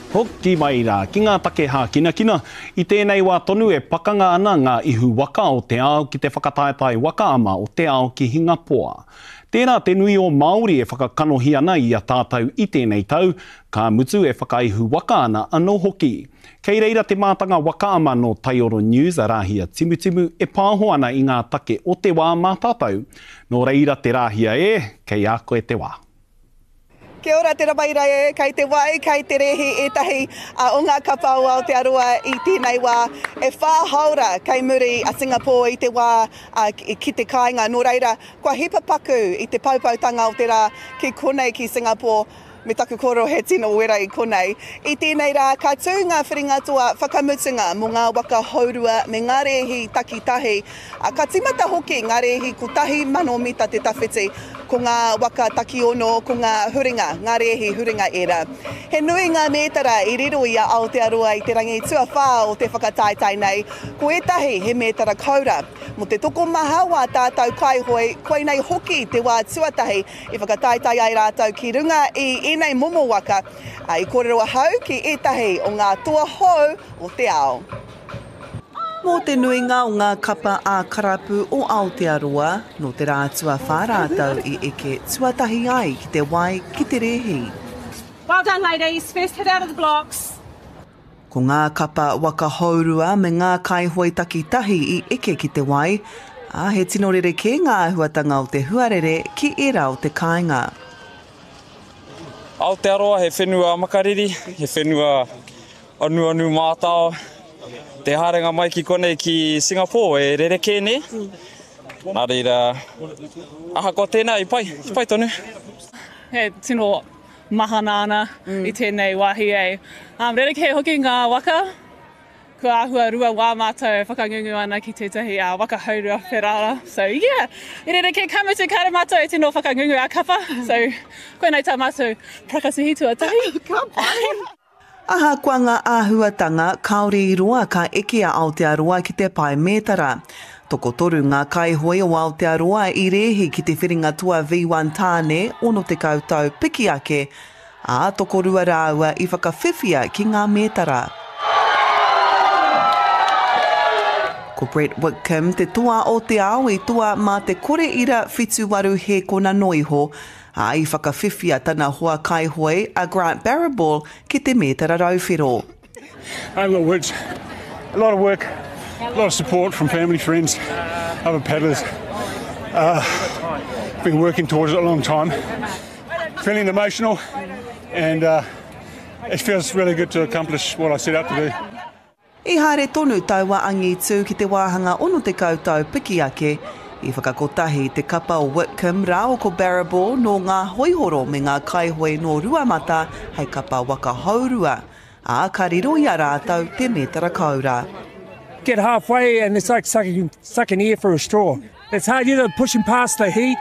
Hoki mai rā ki ngā take hākinakina, i tēnei wā tonu e pakanga ana ngā ihu waka o te ao ki te whakataetae waka ama o te ao ki Hingapoa. Tērā te nui o Māori e whakakanohi ana i a tātou i tēnei tau, ka mutu e whakaihu waka ana anō hoki. Kei reira te mātanga waka ama nō Taioro News a Rāhia Timutimu e pāho ana i ngā take o te wā mā tātou. Nō reira te Rāhia e, kei a koe te wā. Kia ora te rabaira e, kei te wai, kei te rēhi ētahi o ngā kapa o Aotearoa i tēnei wā. E whā haora kei muri a Singapore i te wā ki te kāinga, nō reira, kua hipa paku i te poupoutanga o te rā ki konei ki Singapore. Me taku kōrero he tino wera i konei. I tēnei rā, ka tū ngā whiringa toa whakamutunga mō ngā waka hourua me ngā rēhi takitahi. Ka tīmata hoki ngā rēhi 1,000 mita te tawhiti. Ko ngā waka takiono, ko ngā huringa, ngā rēhi huringa ērā. He nui ngā mētara i riro i a Aotearoa i te rangi tuawhā o te whakataetae nei, ko ētahi he mētara koura. Mō te tokomaha o ā tātou kaihoe, koinei hoki te wā tuatahi i whakataetae ai rātou ki runga i ēnei momo waka, ā, i kōrero ahau ki ētahi o ngā toa hou o te ao. Mō te nuinga o ngā kapa ā-karapu o Aotearoa, nō te rā tuawhā rātou i eke tuatahi ai ki te wai ki te rēhi. Well done ladies, first hit out of the blocks. Ko ngā kapa waka hourua me ngā kaihoe takitahi i eke ki te wai, ā, he tino rerekē ngā āhuatanga o te huarere ki ērā o te kāinga. Aotearoa he whenua makariri, he whenua Anuanu mātao, te haerenga mai ki konei ki Singapore e rerekē nē. Nā reira, ahakoa tēnā i pai, i pai tonu. He tino mahana ana i tēnei wāhi e. Um, rerekē hoki ngā waka. Kua āhua rua wā mātou e whakangungu ana ki tētahi uh, waka haurua wherara. So yeah, i rerekē ka mutu kāre mātou e tino whakangungu a kapa. So koinei tā mātou prakatihi tuatahi. Ka pai! Ahakoa ngā āhuatanga, kāore i roa ka eke a Aotearoa ki te pae mētara. Tokotoru ngā kaihoe o Aotearoa i rēhi ki te whiringa toa V1 tāne 60 tau piki ake, ā, tokorua rāua i whakawhiwhia ki ngā mētara. Ko Brett Wickham te toa o te ao i toa mā te kore ira 78 hēkona noa iho, ā, i whakawhiwhia tana hoa kaihoe a Grant Barriball ki te mētara rauwhero. I haven't got words. A lot of work, a lot of support from family, friends, other paddlers. Uh, been working towards it a long time. Feeling emotional and uh, it feels really good to accomplish what I set out to do. I haere tonu taua angitu ki te wāhanga 60 tau piki ake, i whakakotahi te kapa o Whitcomb rāua ko Barriball nō ngā hoihoro me ngā kaihoe nō Ruamata hei kapa waka hourua, ā, ka riro i a rātou te mētara koura. Get halfway and it's like sucking, sucking air through a straw. It's hard, you know, pushing past the heat.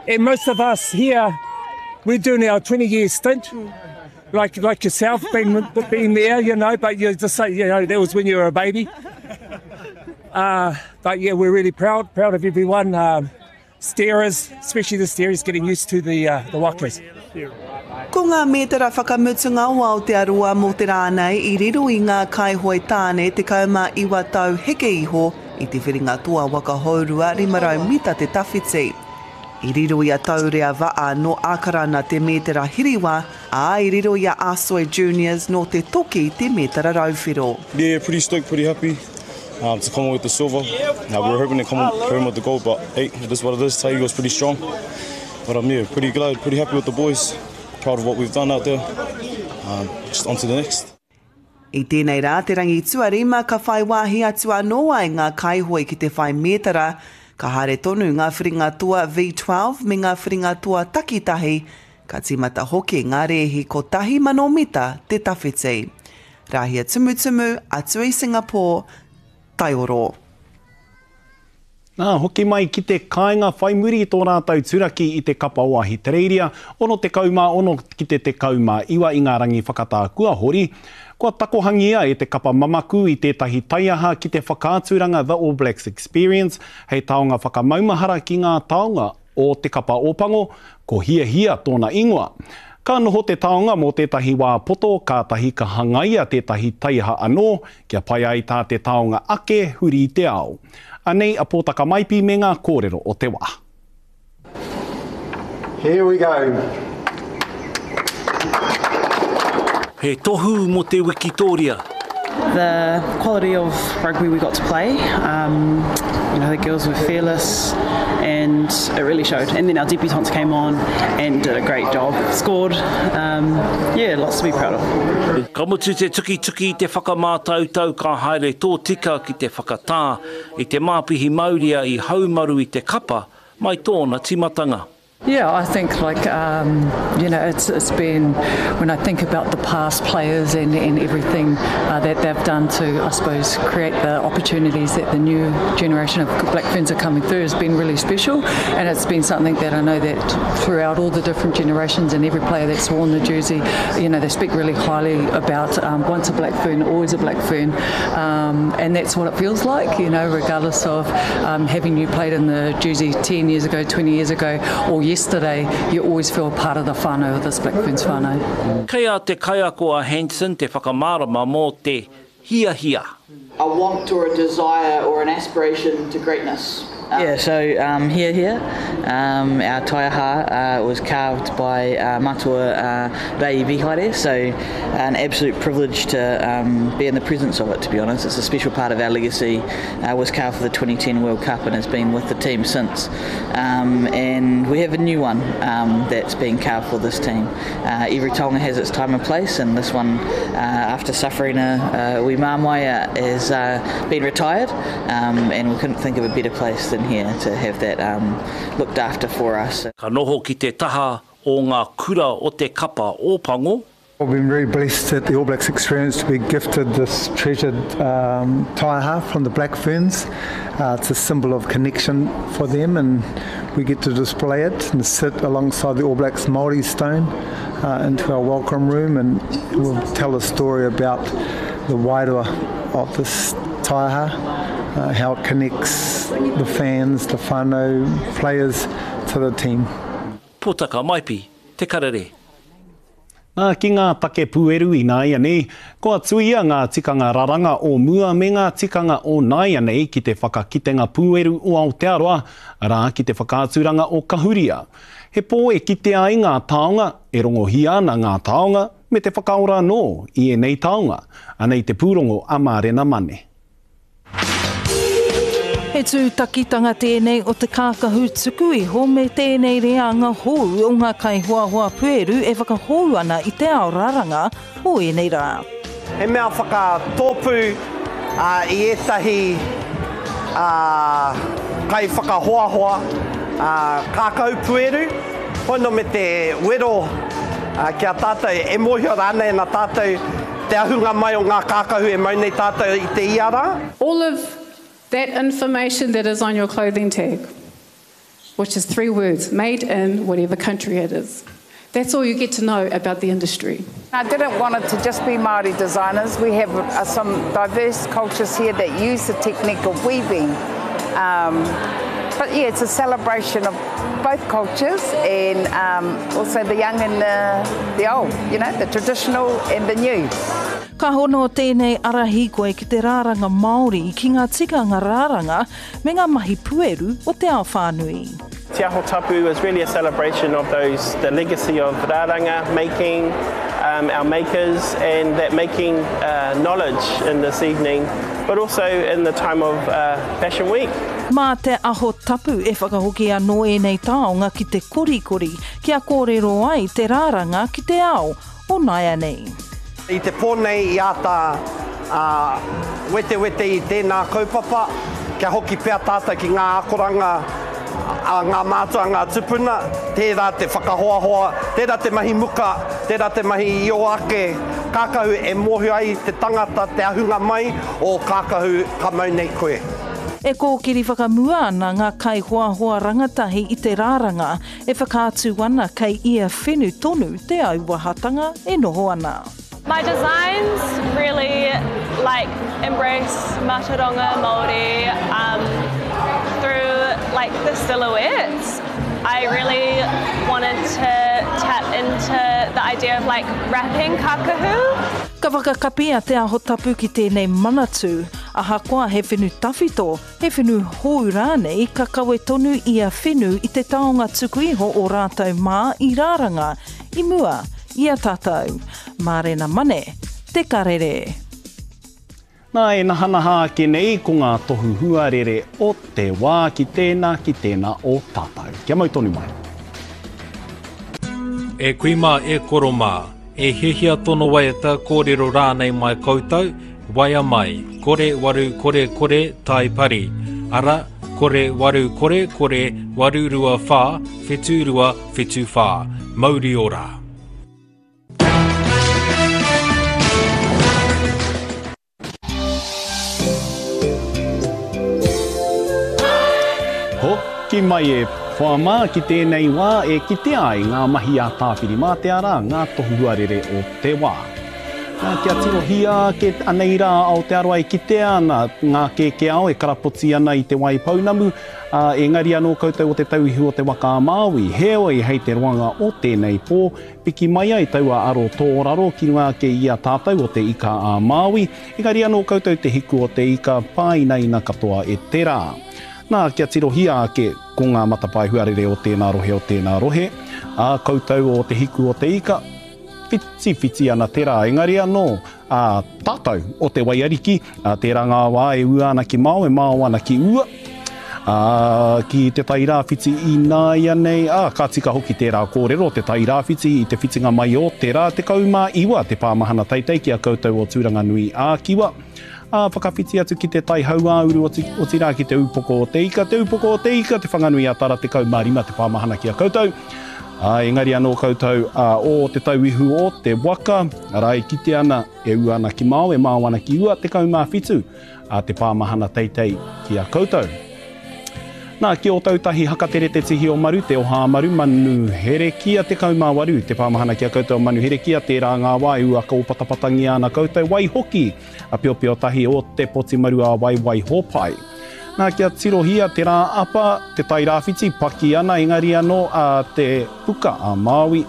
And most of us here, we're doing our 20 year stint. Like, like yourself, being, being there, you know, but you just say, you know, that was when you were a baby. Uh, but yeah, we're really proud, proud of everyone. Um, steerers, especially the steerers, getting used to the, uh, the wakas. Ko ngā mētara whakamutunga o Aotearoa mō te rā nei i riro i ngā kaihoe tāne 19 tau heke iho i te whiringa toa waka hourua 500 mita te tawhiti. I riro i a Taurea Va'a nō Ākarana te mētara hiriwa, ā, i riro i a Asoy Juniors nō Te Toki te mētara rauwhero. Yeah, pretty stoked, pretty happy um, to come away with the silver. Uh, we were hoping to come home with the gold, but hey, it is what it is. Tahi was pretty strong. But um, yeah, pretty glad, pretty happy with the boys. Proud of what we've done out there. Um, just on to the next. I tēnei rā, te rangi tuarima, ka whai wāhi atu anō ai ngā kaihoe ki te whai mētara, ka haere tonu ngā whiringa toa V12 me ngā whiringa toa takitahi, ka tīmata hoki ngā rēhi 1,000 mita te tawhiti. Rāhia Tumutumu, atu i Singapore, Taioro. Nā, hoki mai ki te kāinga whai muri i tō rātou turaki i te kapa o Ahitereiria, 66 ki te 19 i ngā rangi whakatā kua hori. Kua takohangia e te kapa mamaku i tētahi taiaha ki te whakaaturanga The All Blacks Experience hei taonga whakamaumahara ki ngā taonga o te kapa Ōpango, ko Hiahia tōna ingoa. Ka noho te taonga mō tētahi wā poto kātahi ka hangaia tētahi taiaha anō kia pai ai tā te taonga ake huri i te ao. Anei a Pōtaka Maipi me ngā kōrero o te wā. Here we go. He tohu mō te wikitōria. The quality of rugby we got to play, um, you know, the girls were fearless and it really showed. And then our debutants came on and did a great job, scored, um, yeah, lots to be proud of. Ka mutu te tukituki i te whakamātautau ka haere tōtika ki te whakatā i te māpihi mauria i haumaru i te kapa mai tōna tīmatanga. Yeah, I think like um, you know it's it's been when I think about the past players and, and everything uh, that they've done to I suppose create the opportunities that the new generation of Black Ferns are coming through has been really special and it's been something that I know that throughout all the different generations and every player that's worn the jersey, you know, they speak really highly about um, once a Black Fern, always a Black Fern, um, and that's what it feels like, you know, regardless of um, having you played in the jersey 10 years ago, 20 years ago, or yesterday, you always feel part of the whānau of this Black Ferns whānau. Kei a te kaiako a Hanson te whakamārama mō te hiahia. A want or a desire or an aspiration to greatness. Yeah, so um, here, here, um, our taiaha uh, was carved by uh, Matua uh, Rei Vihaere, so an absolute privilege to um, be in the presence of it, to be honest. It's a special part of our legacy. Uh, was carved for the 2010 World Cup and has been with the team since. Um, and we have a new one um, that's being carved for this team. Uh, every tonga has its time and place, and this one, uh, after suffering a, a wee māmai, uh, has uh, been retired, um, and we couldn't think of a better place than here to have that um, looked after for us. Ka noho ki te taha o ngā kura o te kapa Ōpango. We've been very blessed at the All Blacks experience to be gifted this treasured um, taiaha from the Black Ferns. Uh, it's a symbol of connection for them and we get to display it and sit alongside the All Blacks Māori stone uh, into our welcome room and we'll tell a story about the wairua of this taiaha, uh, how it connects the fans, the whānau, players to the team. Potaka Maipi, Te Karere. Nā, ki ngā take pūeru ināianei, kua tuia ngā tikanga raranga o mua me ngā tikanga o nāianei ki te whakakitenga pūeru o Aotearoa, arā, ki te whakaaturanga o Kahuria. He pō e kitea ai ngā taonga, e rongohia ana ngā taonga, me te whakaora anō i ēnei taonga. Anei te pūrongo a Mārena Mane. He tūtakitanga tēnei o te kākahu tuku iho me tēnei reanga hou o ngā kaihoahoa pueru e whakahou ana i te ao raranga o ēnei rā. He mea whakatōpū i ētahi kaiwhakahoahoa kākahu pueru, hono me te wero ki a tātou e mōhio rānei ana tātou Te ahunga mai o ngā kākahu e mau nei tātou i te ia rā. All of that information that is on your clothing tag, which is three words, made in whatever country it is. That's all you get to know about the industry. I didn't want it to just be Māori designers. We have uh, some diverse cultures here that use the technique of weaving. Um, but yeah, it's a celebration of both cultures and um, also the young and the, the old, you know, the traditional and the new. Ka hono tēnei ara hīkoi ki te rāranga Māori, ki ngā tikanga rāranga me ngā mahi pueru o te ao whānui. Te Aho Tapu is really a celebration of those, the legacy of rāranga making, um, our makers and that making uh, knowledge in this evening, but also in the time of uh, Fashion Week. Mā Te Aho Tapu e whakahoki anō ēnei taonga ki te korikori, kia kōrero ai te rāranga ki te ao o nāianei. I te pō nei i āta wetewete i tēnā kaupapa, kia hoki pea tātou ki ngā akoranga a ngā mātua, ngā tupuna, tērā te whakahoahoa, tērā te mahi muka, tērā te mahi i ō ake kākahu e mōhio ai te tangata te ahunga mai o kākahu ka mau nei koe. E kōkiri whakamua ana ngā kaihoahoa rangatahi i te rāranga e whakaatu ana kei ia whenu tonu te auahatanga e noho ana. My designs really like embrace mātauranga Māori um, through like the silhouettes. I really wanted to tap into the idea of like wrapping kakahu. Ka whakakapi a Te Aho Tapu ki tēnei manatū, ahakoa he whenu tawhito, he whenu hou rānei, ka kawe tonu ia whenu i te taonga tuku iho o rātou mā i rāranga i mua i a tātou. Mārena Mane, Te Karere. Nā, e nahanaha ake nei ko ngā tohu huarere o te wā ki tēnā, ki tēnā o tātou. Kia mau tonu mai. E kui mā, e koro mā, e hiahia tono waiata, kōrero rānei mai koutou, waea mai, kore waru kore kore tai pari, ara, kore waru kore kore 8 2 whā 7 2 7 whā. Mauri ora! Hoki mai e hoa mā ki tēnei wā e kitea ai ngā mahi a Tāwhirimātea rā, ngā tohu huarere o te wā. Nā, kia tirohia ake anei rā Aotearoa e kitea ana ngā kēkēao e karapoti ana i te wai pounamu, ā, engari anō koutou o Te Tauihu o Te Waka a Māui. Heoi, hei te roanga o tēnei pō, Piki mai ai taua aro tōraro ki runga ake i a tātou o Te Ika a Māui, engari anō koutou te hiku o te ika, pāinaina katoa e te rā. Nā, kia tirohia ake ko ngā matapae huarere o tēnā rohe o tēnā rohe, ā, koutou o te hiku o te ika, whitiwhiti ana te rā, engari anō, ā, tātou o te waiariki, ā, tērā ngā wā e ua ana ki mao, e mao ana ki ua, ā, ki te tai rāwhiti ināianei, ā, ka tika hoki tērā kōrero, te tai rāwhiti i te whitinga mai o te rā 19 te pāmahana teitei ki a koutou o Tūranganui ā-Kiwa, ā, whakawhiti atu ki te tai hauāuru otirā ki te Ūpoko o te Ika, te Ūpoko o te Ika, Te Whanganui-a-Tara 15 te pāmahana ki a koutou. Ā, engari anō koutou, ā, o te tauihu o te waka, arā, e kite ana, e ua ana ki mao, e mao ana ki ua, 17, ā, te pāmahana teitei ki a koutou. Nā, ki Ōtautahi, Hakatere te tihi o Maru, te oha a Maru, Manu Herekia, 18, te pāmahana ki a koutou, Manu Herekia, tērā ngā wā e uaka ōpatapatangia ana koutou, waihoki, a Piopio tahi o te poti maru a Waiwai Hōpai. Nā, kia tirohia te rā apa, te tai rāwhiti, paki ana, engari anō a te puka a Māui,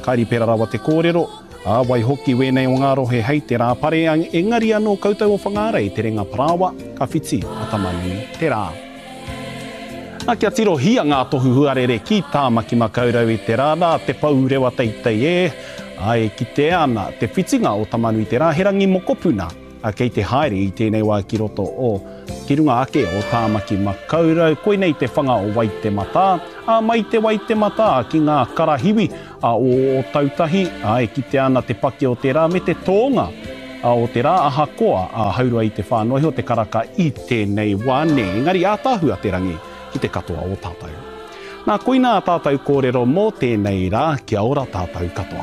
ka ripera rawa te kōrero, ā, waihoki wēnei o ngā rohe hei te rā pare, engari anō koutou o Whangārei, te renga parāoa, ka whiti a Tamanui te rā. Nā, kia tirohia ngā tohu huarere ki Tāmaki Makaurau i te rā nā, te pou rewa teitei e, ā, e kitea ana te whitinga o Tamanui te rā, he rangi mokopuna, ā, kei te haere i tēnei wā ki roto o, ki runga ake o Tāmaki Makaurau. Koinei te whanga o Waitematā, ā, mai te Waitematā ki ngā karahiwi, ā, o Ōtautahi, ā, e kitea ana te paki o te rā me te tōnga, ā, o te rā, ahakoa, ā, haurua i te whā noa iho te karaka i tēnei wā, nē, engari ātaahua te rangi ki te katoa o tātou. Nā, koinā ā tātou kōrero mō tēnei rā, kia ora tātou katoa.